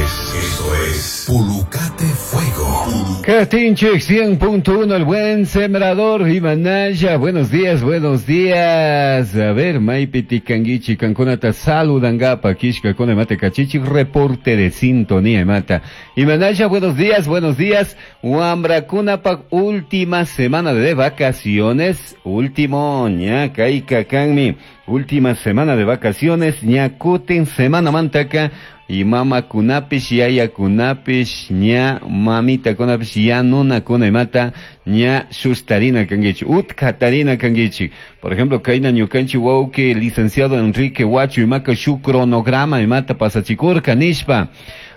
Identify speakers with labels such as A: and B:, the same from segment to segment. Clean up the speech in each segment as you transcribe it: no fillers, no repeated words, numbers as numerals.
A: es, esto es Pulucate Fuego.
B: Catinche 100.1, el buen sembrador Imanaya. Buenos días, buenos días. A ver, Maipiti Kangichi, Kankunata, saludangapa, Kishka, Mate Cachichi, reporte de sintonía, mata. Imanaya, buenos días, buenos días. Huambrakunapa, última semana de vacaciones. Último, ña, kaika, kanmi. Última semana de vacaciones, ñakuten, semana mantaka. Y mama kunapish, yaya kunapish, ña mamita kunapish, ya nuna kunamata, ña shustarina kangichi, utkatarina kangichi. Por ejemplo, kaina ñukanchi wauki, licenciado Enrique Huacho, y maka shu cronograma, y mata pasachikurka, nishpa.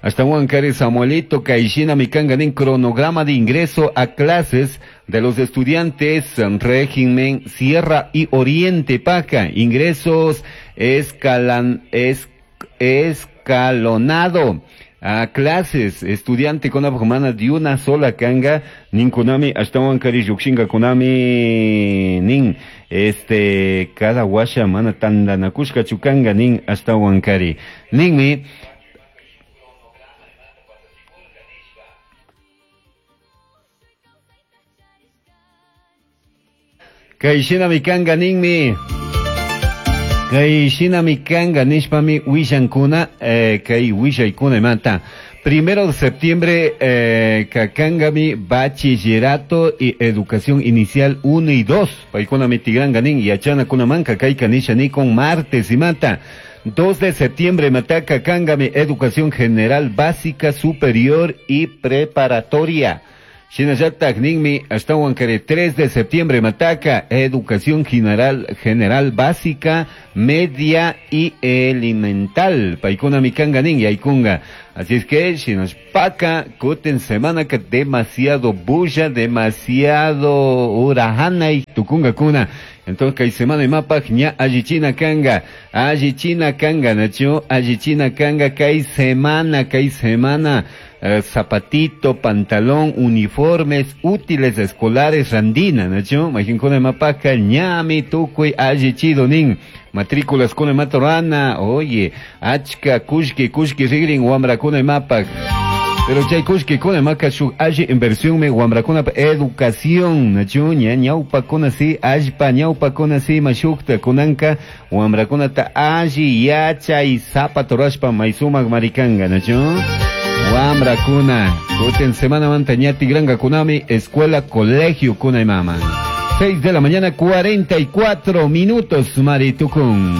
B: Hasta Juan Cari Samuelito, Kaishina Mikanganin, cronograma de ingreso a clases de los estudiantes en régimen Sierra y Oriente Paca. Ingresos escalan, es, escalonado a clases estudiante con humana de una sola kanga nin kunami hasta kari yukshinga kunami nin este cada washa mana tandanakushka chukanga nin hasta kari ninmi Kay shinami kanga ninmi. Kay shinami kanga nishpami willankuna, kay willaykuna imanta. Primero de septiembre, kakangami bachillerato y educación inicial 1 y 2. Paykuna mitigranga nin yachana kunamanka kayka nisha ni con martes imata. 2 de septiembre mataka kangami educación general básica superior y preparatoria. Shinallatak ninmi ashtawan kari 3 de septiembre mataka educación general, general básica, media y elemental. Paykuna mikanga nin yaykunga. Así es que shinaspaka kuten semana que demasiado bulla, demasiado urahana y tukunga kuna. Entonces kay semana imapaj ña allichina kanga, allichina kanga, nacho, allichina kanga kay semana, kay semana. Zapatito, pantalón, uniformes, útiles escolares, randina, nacho, majinkuna mapaka, ñami, tukuy, allichido, nin, matrículas kuna matorana, oye, achka, kushki, kushki, rigrin, wambrakuna mapak. Pero chay kushki kuna maka shuk alli inversión me wambrakuna pa educación, nacho, ña, ñaupa kuna si, allpa, ñaupa kuna si, mashukta, kunanka, wambrakuna ta alli, yacha y zapato rashpa, maisumak marikanga, nacho. Wambra kuna, kuten semana manta ñati granga kunami, escuela, colegio kuna y mama. 6 de la mañana, 44 minutos, Maritukun.